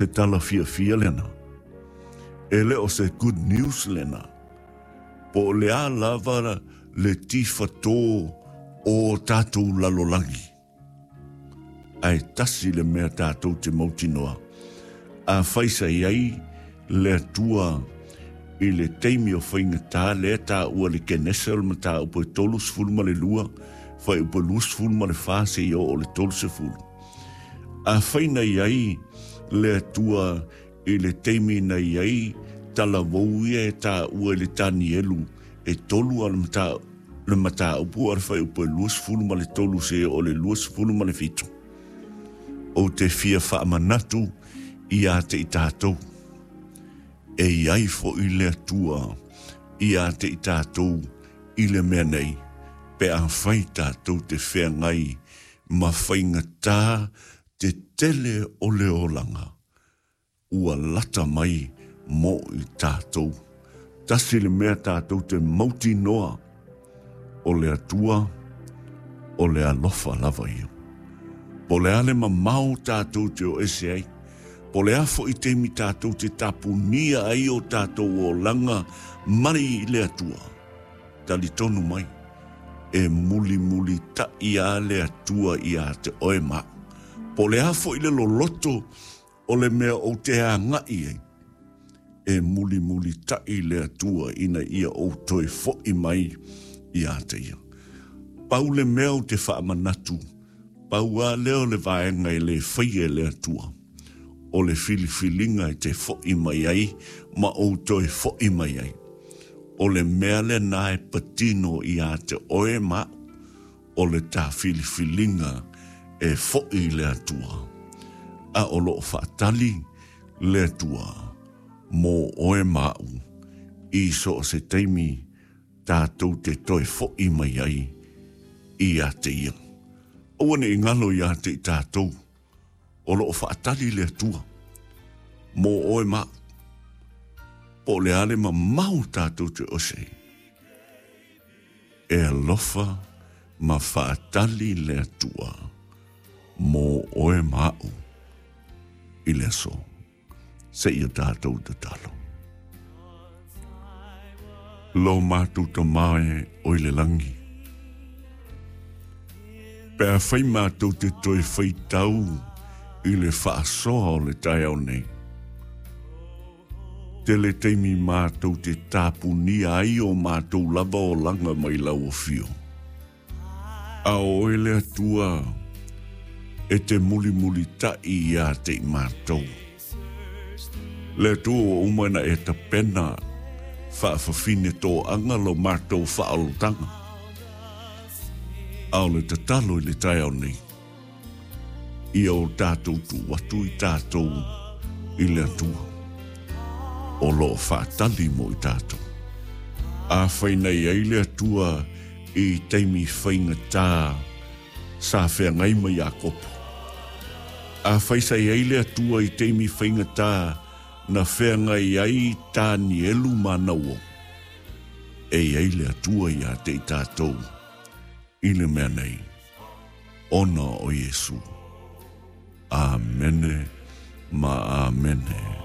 Se tala fiafia lena. E le o se good news lena. Po o le a lava le tifatō o tatou lalolagi. Ae tasi le mea tatou te mautinoa, afai sa i ai le Atua i le taimi o faigata lea taua i le Kenese o le mataupu e 32, fuaiupu e 24 seia oo i le 30. Afai na i ai le Atua i le taimi na i ai talavou ia e taua i le Tanielu e tolu a le mataupu a le fuaiupu e 23 seia oo i le 27, ou te fia faamanatu ia te i tatou, e i ai foi le Atua ia te i tatou i le mea nei, pe afai tatou te feagai ma faigata te tele o le olaga ua lata mai mo i tatou. Tasi le mea tatou te mautinoa, o le Atua, o le alofa lava ia. Po o le a le mamao tatou te o ese ai, po o le a foi taimi tatou te tapunia ai o tatou olaga mai i le Atua, Talitonu mai, e mulimulitaʻi a le Atua iā te oe ma aʻu. Po o le a foi le loloto o le mea ou te agaʻi ai, e mulimulitaʻi le Atua ina ia ou toe foʻi mai iā te ia. Pau le mea ou te faamanatu, pau a lea o le vaega e le faia e le Atua, o le filifiliga e te foʻi mai ai ma ou toe foʻi mai ai. O le mea lena e patino iā te oe ma aʻu, o le ta filifiliga e foʻi i le Atua, a o lo o faatali le Atua mō oe ma aʻu i so o se taimi tatou te toe foʻi mai ai iā te ia. Aua ne i galo iā te i tatou. O lo o faatali le Atua mō oe ma aʻu. Po o le a le mamao tatou te ose ai. E alofa ma faatali le Atua mō oe ma aʻu i le aso. Seia tatou tatalo. Lo matou Tama e o i le lagi, pe afai matou te toe faitau i le faasoa o le taeao nei, tele taimi matou te tapunia ai o matou lava olaga mai lau afio. A o oe le Atua e te mulimulitaʻi iā te i matou. Le Atua ua uma ona e tapena faafafine toaga lo matou faaolotaga. A o le tatalo i le taeao nei, ia o tatou tuu atu i tatou i le Atua, o lo o faatali mo i tatou. Afai na i ai le Atua i taimi faigata sa feagai ma Iakopo. Afai sa i ai le Atua i taimi faigata na feagai ai Tanielu ma Nauo, e i ai le Atua iā te i tatou i le mea nei, ona o Iesu. Amene ma Amene.